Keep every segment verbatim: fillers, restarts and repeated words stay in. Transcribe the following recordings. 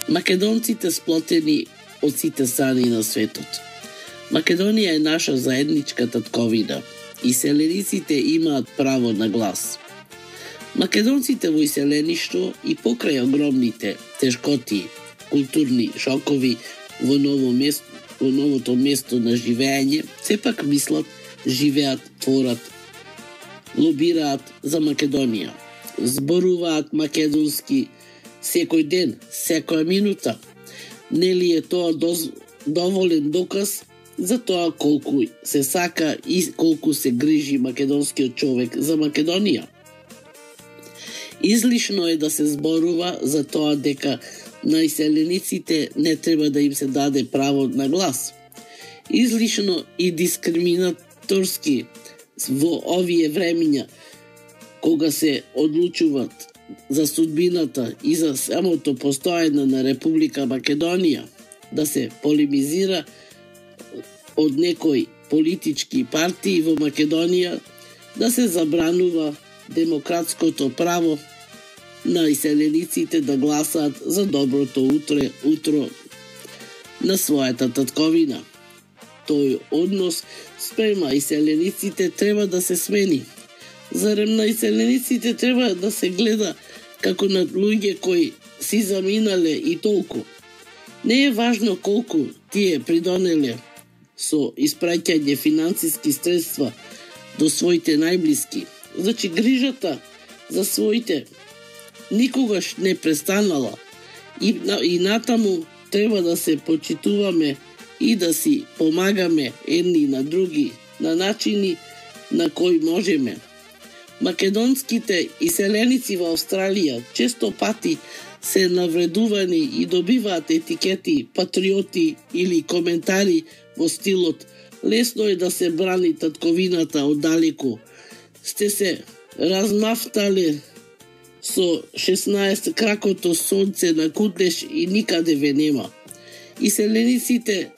Македонците сплотени од сите страни на светот. Македонија е наша заедничка татковина и селениците имаат право на глас. Македонците во иселеништво и покрај огромните тешкоти, културни шокови во ново место, во новото место на живење, сепак мислат, живеат, творат, лобираат за Македонија. Зборуваат македонски секој ден, секоја минута. Нели е тоа доз, доволен доказ за тоа колку се сака и колку се грижи македонскиот човек за Македонија? Излишно е да се зборува за тоа дека на иселениците не треба да им се даде право на глас. Излишно и дискриминаторски во овие времиња, кога се одлучуваат за судбината и за самото постоење на Република Македонија, да се полемизира од некои политички партии во Македонија, да се забранува демократското право на иселениците да гласаат за доброто утре, утро на својата татковина. Тој однос спрема иселениците треба да се смени. Зарем на иселениците треба да се гледа како на луѓе кои си заминале и толку. Не е важно колку тие придонеле со испраќање финансиски средства до своите најблиски. Значи, грижата за своите никогаш не престанала и, и натаму треба да се почитуваме и да си помагаме едни на други на начини на кои можеме. Македонските иселеници во Австралија често пати се навредувани и добиваат етикети патриоти или коментари во стилот лесно е да се брани татковината оддалеку. Сте се размафтале со шеснаесет кракото сонце на кутнеш и никаде ве нема. Иселениците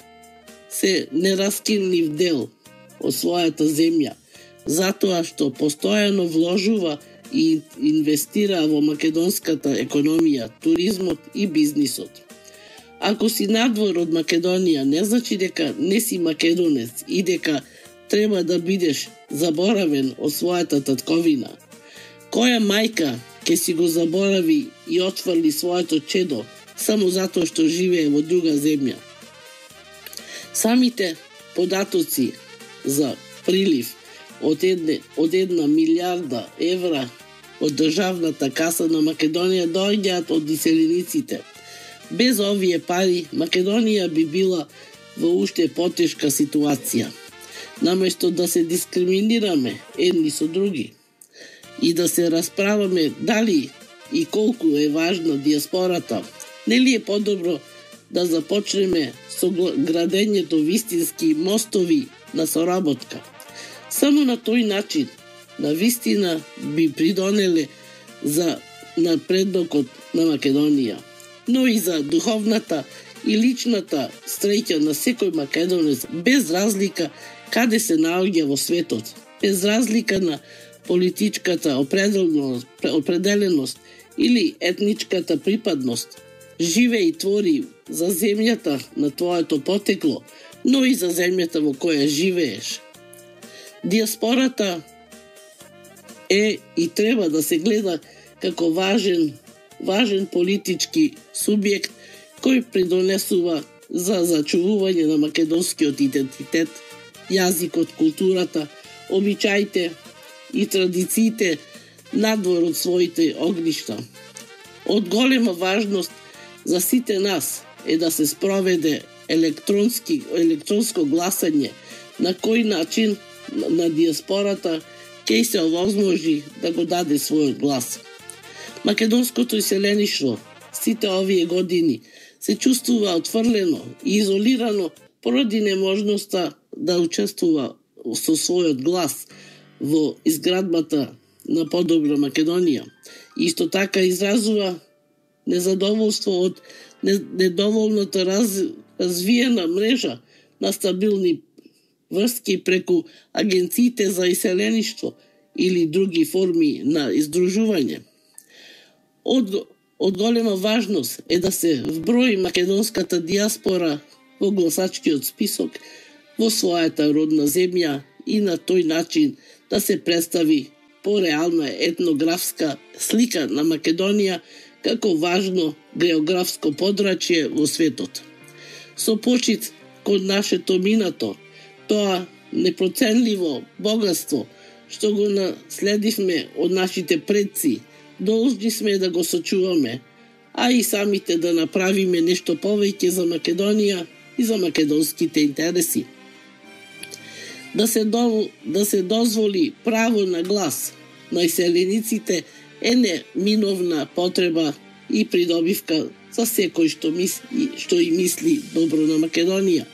се нераскинлив дел од својата земја, затоа што постојано вложува и инвестира во македонската економија, туризмот и бизнисот. Ако си надвор од Македонија, не значи дека не си македонец и дека треба да бидеш заборавен од својата татковина. Која мајка ќе си го заборави и отфрли своето чедо само затоа што живее во друга земја? Самите податоци за прилив од, едне, од една милиарда евра од државната каса на Македонија доаѓаат од иселениците. Без овие пари Македонија би била во уште потешка ситуација. Наместо да се дискриминираме едни со други и да се расправаме дали и колку е важна диаспората, нели е подобро да започнеме со градењето вистински мостови на соработка? Само на тој начин, на вистина би придонеле за напредокот на Македонија, но и за духовната и личната среќа на секој македонец, без разлика каде се наоѓа во светот, без разлика на политичката определеност, определеност или етничката припадност. Живе и твори за земјата на твоето потекло, но и за земјата во која живееш. Диаспората е и треба да се гледа како важен, важен политички субјект кој придонесува за зачувување на македонскиот идентитет, јазикот, културата, обичаите и традициите надвор од своите огништа. Од голема важност за сите нас е да се спроведе електронски, електронско гласање, на кој начин на диаспората ќе се овозможи да го даде својот глас. Македонското иселеништво сите овие години се чувствува отфрлено и изолирано поради неможноста да учествува со својот глас во изградбата на подобра Македонија. Исто така изразува незадоволство од недоволната раз, развиена мрежа на стабилни врски преку агенциите за иселеништво или други форми на издружување. Од од голема важност е да се вброи македонската диаспора во гласачкиот список во својата родна земја и на тој начин да се представи пореална етнографска слика на Македонија како важно географско подрачје во светот. Со почит кон нашето минато, тоа непроценливо богатство што го наследивме од нашите предци, должни сме да го сочуваме, а и самите да направиме нешто повеќе за Македонија и за македонските интереси. Да се, до, да се дозволи право на глас на иселениците е неминовна потреба и придобивка за секој што мисли, што и мисли добро на Македонија,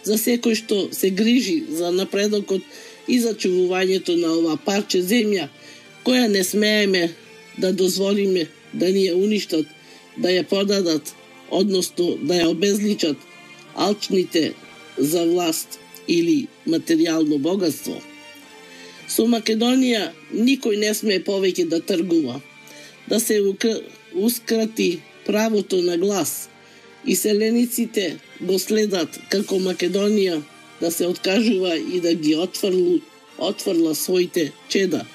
за секој што се грижи за напредокот и за чувувањето на ова парче земја, која не смееме да дозволиме да ни ја уништат, да ја продадат, односно да ја обезличат алчните за власт или материјално богатство. Со Македонија никој не сме повеќе да тргува, да се ускрати правото на глас. Иселениците го следат како Македонија да се откажува и да ги отфрлу, отфрла своите чеда,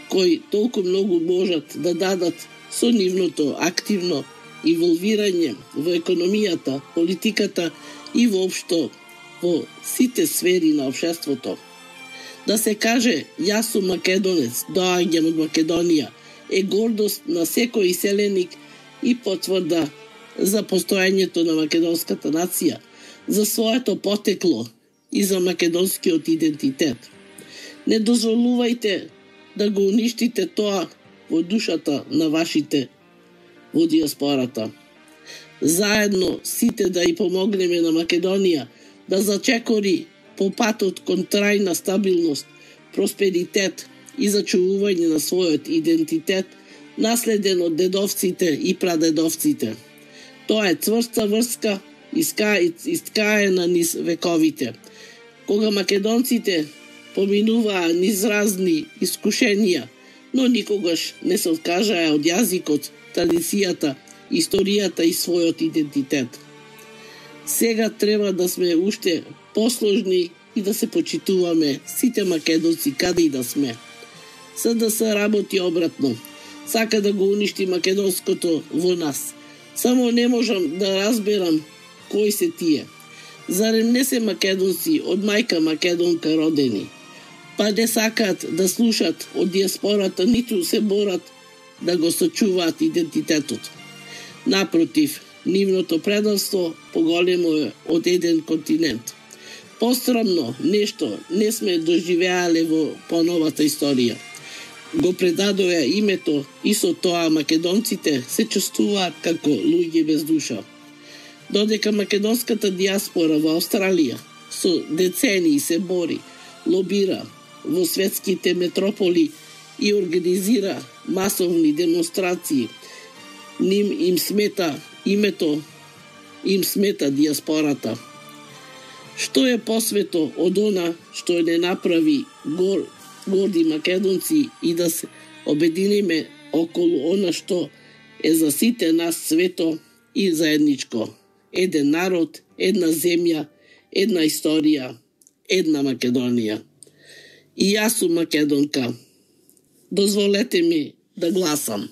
кои толку многу можат да дадат со нивното активно инволвирање во економијата, политиката и воопшто во сите сфери на општеството. Да се каже јас сум македонец, доаѓам од Македонија, е гордост на секој иселеник и потврда за постоењето на македонската нација, за своето потекло и за македонскиот идентитет. Не дозволувајте да го уништите тоа во душата на вашите во диаспората. Заедно сите да и помогнеме на Македонија да зачекори по патот кон трајна стабилност, просперитет и зачувување на својот идентитет, наследен од дедовците и прадедовците. Тоа е цврста врска искаена низ вековите. Кога македонците поминуваа низ разни искушенија, но никогаш не се откажаа од јазикот, традицијата, историјата и својот идентитет. Сега треба да сме уште посложни и да се почитуваме сите македонци каде и да сме. СДС работи обратно. Сака да го уништи македонското во нас. Само не можам да разберам кои се тие. Зарем не се македонци од мајка македонка родени? Па не сакаат да слушат од диаспората, ниту се борат да го сочуваат идентитетот. Напротив, нивното предавство поголемо е од еден континент. Посрамно нешто не сме доживеале во поновата историја. Го предадоја името и со тоа македонците се чувствуваат како луѓе без душа. Додека македонската диаспора во Австралија со децении се бори, лобира во светските метрополи и организира масовни демонстрации, ним им смета името, им смета диаспората. Што е посвето од она што не направи гор, горди македонци и да се обединиме околу она што е за сите нас свето и заедничко. Еден народ, една земја, една историја, една Македонија. И јас сум македонка. Дозволете ми да гласам.